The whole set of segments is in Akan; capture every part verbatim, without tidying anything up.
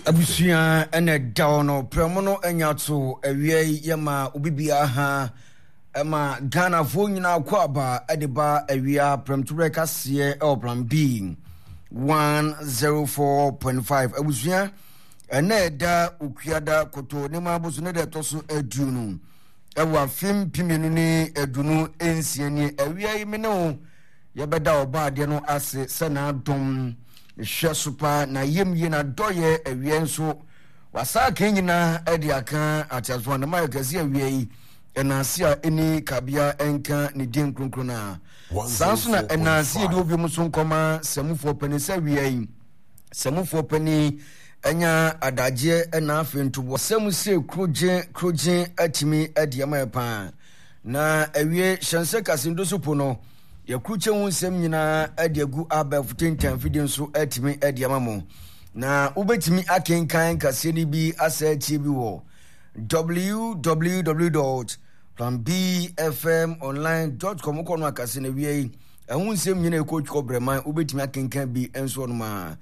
Abusua ɛna ɛda hɔ no prɛmo no anya to awia yi yɛma obi biara ha ɛma Ghanafoɔ nyinaa kɔ aba ɛde ba awia prɛmtoberɛ kaseɛ ɛwɔ Plan B one zero four point five. Abusua ɛna ɛda Okuada koto ne ma aboso ne deɛ ɛtɔ so aduonu ɛwɔ afe mpemienu ne aduonu nsia nie. Awia yi me ne wo yɛbɛda ɔba adeɛ no ase sɛ n'adom hwɛ so paa na yam yie na dɔyɛ. Awia nso wasaa kan nyinaa ɛde aka ateasefoɔ a ne ma yɛ kɛse. Awia yi ɛnaase a ɛni kabea ɛnka ne din kronkron a saa nso na ɛnaase yɛde obi mu so nkɔma sɛmufoɔ panin sɛ awia yi sɛmufoɔ panin ɛnya adagyeɛ ɛna afei ntoboa sɛmu sɛ kurogye kurogye atumi adi ama yɛ paa. Na awie hyɛnsɛ kasendo so po no yɛkurukye ho nsɛm nyinaa adi agu abɛɛfo tentan fidie nso atumi adi ama mo, na wobɛtumi akenkan kaseɛ no bi asɛ atie bi wɔ w w w dot planbfmonline dot com. Wokɔ no akase no awia yi ɛho nsɛm nyinaa ɛkɔ twikɔ brɛman wobɛtumi akenkan bi nso no ma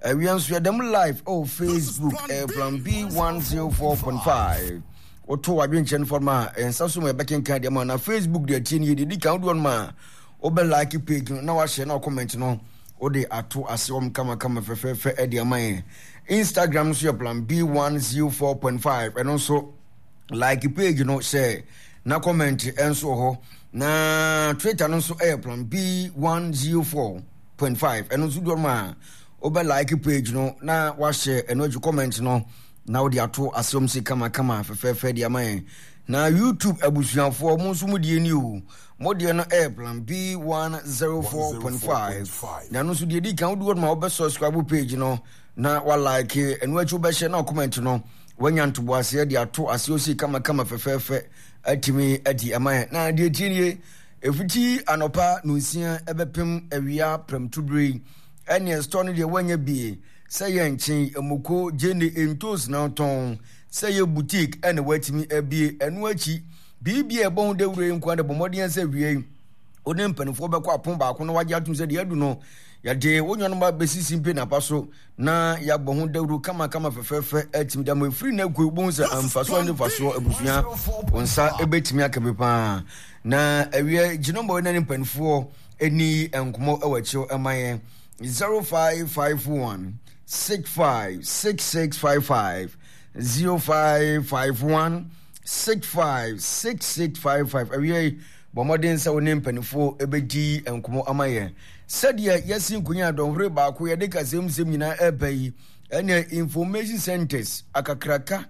awia nso yɛdɛm live ɛwɔ Facebook, ɛyɛ Plan B one oh four point five. Woto wadwenkyerɛ no fɔm a ɛnsa so ma yɛbɛkenkan deɛ ma na Facebook deɛ tie no yɛ deɛ di kan wodoɔ no ma wobɛ like page no na wahyɛ na comment no wode ato ase wɔm kamakama fɛfɛɛfɛ ɛde ama yɛn. Instagram nso yɛ Plan B one oh four point five, ɛno nso like page no hyɛ na comment nso wɔ hɔ. Na Twitter no nso ɛyɛ Plan B one oh four point five, ɛno nso doɔ no a wobɛ like page no na wahyɛ ɛno akyi comment no na wode ato asɛm si kamakama fɛfɛɛfɛ de ama yɛn. Na YouTube abusuafoɔ mo nso mo deɛ ni o, mo deɛ no ɛyɛ Plan B one oh four point five, na ɛno nso deɛ di kan wode wɔ no ma wobɛ subscribe page no na wa like, ɛno akyi wobɛhyɛ na comment no wanya ntoboaseɛ de ato aseɛ osi kamakama fɛfɛɛfɛ atumi adi ama yɛn. Na deɛ tie nie, ɛfiti anɔpa nonsia ɛbɛpem awia prɛmtobere yi ɛneɛ store no deɛ woanya bie sɛ yɛ nkyen mmoko gyene ntos na tɔn sɛ yɛ boutique ɛna watumi abie. Ɛno akyi biribi a ɛbɔ ho dawuro yi nko de bɔ mmɔden sɛ wie yi wo ne mpanimfoɔ bɛkɔ apon baako na wagye atom sɛ deɛ adu no yɛde wo nuanom abɛsisi mpe napa so na yɛabɔ ho dawuro kamakama fɛfɛɛfɛ atumi da ma ɛfiri no akue wobɛhu sɛ amfasoɔ ne mfasoɔ. Abusua wo nsa ɛbɛtumi aka bi paa. Na awie gyinɔmmɔ ne ne mpanimfoɔ ani nkɔmmɔ ɛwɔ akyire ɛma yɛn zero five five one six five six six five five, zero five five one six five six six five five. Awie bɔ mmɔden sɛ wo ne mpanimfoɔ ɛbɛdi nkɔmmɔ ama yɛn sɛdeɛ yɛsi nkonya dɔnhwere baako yɛde kasɛm nsɛm nyinaa ɛreba yi. Ɛne information centers akakraka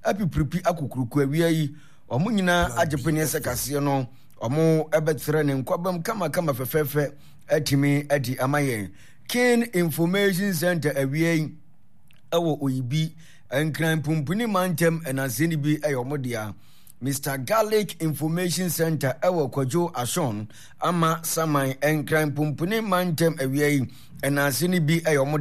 apipiripi akokuroko awia yi wɔn nyinaa agye peneɛ sɛ kaseɛ no wɔn ɛbɛtrɛ ne nkwabam kamakama fɛfɛɛfɛ atumi adi ama yɛn. King Information Center awia yi ɛwɔ Oyibi Nkran Pumpuni mantam ɛnansɛn bi ɛyɛ wɔn dea. Mister Garlic Information Center ɛwɔ Kwadwo Ashon ama Saman Nkran Pumpuni mantam awia yi ɛnansɛn bi ɛyɛ wɔn.